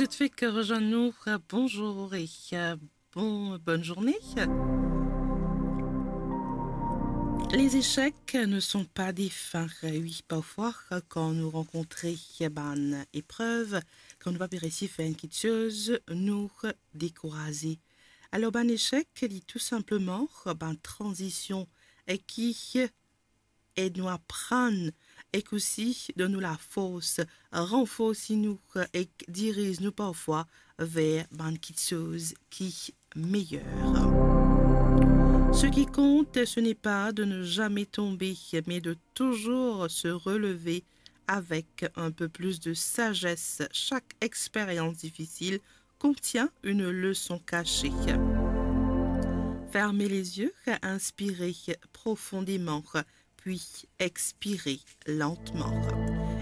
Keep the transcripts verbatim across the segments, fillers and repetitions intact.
Tout de suite, rejoins-nous. Bonjour et, euh, bon, bonne journée. Les échecs ne sont pas des fins. Oui, parfois, quand nous rencontrons bann épreuve, kan nou pa pe resi fer enn kiksoz, nou dekouraze. Alor, bann echek, li tou sinpleman bann tranzision e ki ed nou aprann ek osi donn nou lafors, ranforsi nou ek diriz nou parfwa ver bann kiksoz ki meyer. Ce qui compte, ce n'est pas de ne jamais tomber, mais de toujours se relever avec un peu plus de sagesse. Chaque expérience difficile contient une leçon cachée. Fermez les yeux, inspirez profondément, puis expirez lentement.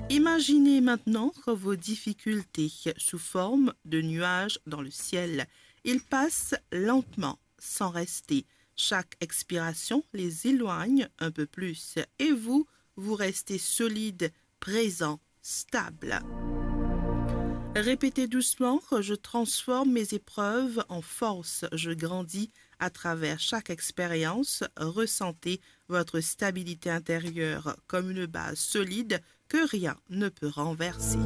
Imaginez maintenant vos difficultés sous forme de nuages dans le ciel. Ils passent lentement, sans rester. Chaque expiration les éloigne un peu plus et vous, vous restez solide, présent, stable. Répétez doucement : je transforme mes épreuves en force, je grandis à travers chaque expérience. Ressentez votre stabilité intérieure comme une base solide que rien ne peut renverser.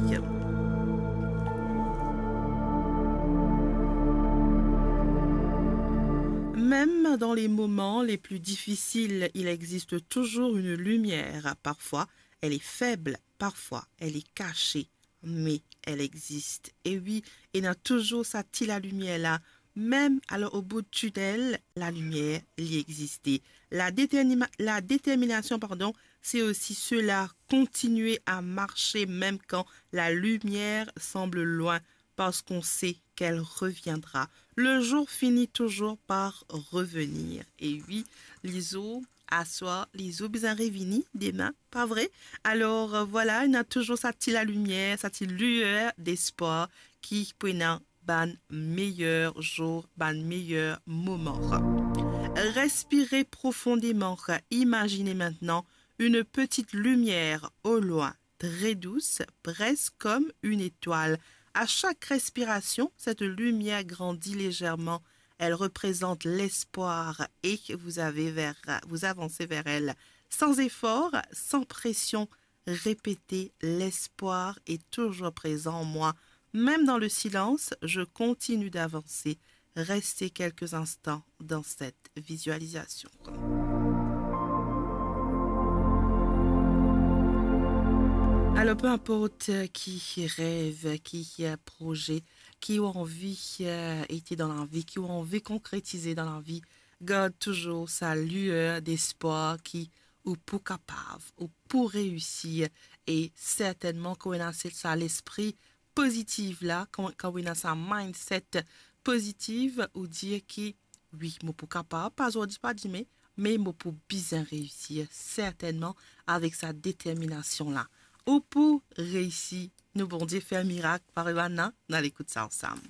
Même dans les moments les plus difficiles, il existe toujours une lumière. Parfois, elle est faible, parfois, elle est cachée, mais elle existe. E wi, ena touzour sa ti lalimier la. Mem alor, o bout tinel, lalimier, li existe. La détermina-, la détermination, pardon, c'est aussi cela, continuer à marcher même quand la lumière semble loin, parce qu'on sait qu'elle reviendra. Le jour finit toujours par revenir. E wi, lizour, aswar, lizour bizin revini, demin, pa vre? Alor, euh, vwala, ena touzour sa ti lalimier, sa ti luer despwar ki pou ena bann meyer zour, bann meyer moman. Respirez profondément. Imaginez maintenant une petite lumière au loin, très douce, presque comme une étoile. À chaque respiration, cette lumière grandit légèrement. Elle représente l'espoir et vous avez vers, vous avancez vers elle. Sans effort, sans pression, répétez : l'espoir est toujours présent en moi. Même dans le silence, je continue d'avancer. Restez quelques instants dans cette visualisation. Alor, pe inport ki rev, ki proze ki ou anvi, euh, ete dan lavi, ki ou anvi konkretize dan lavi, gard touzour sa luer despwar ki ou pou kapav, ou pou reisir. E sertennman, kan ou ena se, sa lespri pozitiv la, kan, kan ou ena sa mindset pozitiv, ou dir ki, wi, mo pou kapav, pa zordi, pa dime, me mo pou bizin reisir, sertennman, avek sa determinasion la. Ou pou reisi, nou Bondie fer mirak, parey bann la, nou al ekout sa ansam.